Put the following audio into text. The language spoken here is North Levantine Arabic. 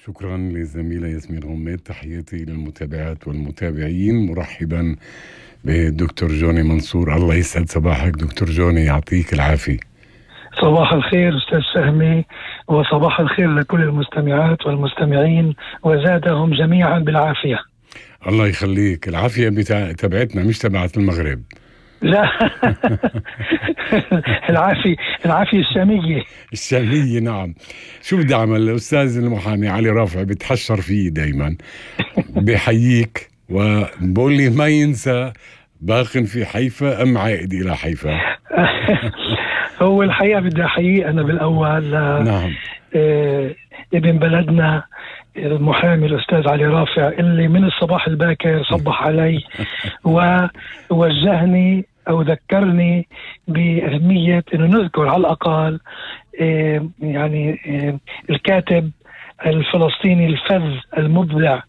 شكرا للزميلة ياسمين غميد. تحياتي للمتابعات والمتابعين، مرحبا بالدكتور جوني منصور. الله يسعد صباحك دكتور جوني، يعطيك العافية. صباح الخير أستاذ فهمي، وصباح الخير لكل المستمعات والمستمعين، وزادهم جميعا بالعافية. الله يخليك. العافية تبعتنا مش تبعت المغرب. لا العافية الشامية نعم. شو بدي أعمل؟ الأستاذ المحامي علي رافع بتحشر فيه دايما بحييك وبقول لي ما ينسى باق في حيفا أم عائد إلى حيفا. هو الحقيقة بدي أحيي أنا بالأول نعم. ابن بلدنا المحامي الأستاذ علي رافع اللي من الصباح الباكر صبح علي ووجهني أو ذكرني بأهمية أنه نذكر على الأقل يعني الكاتب الفلسطيني الفذ المبدع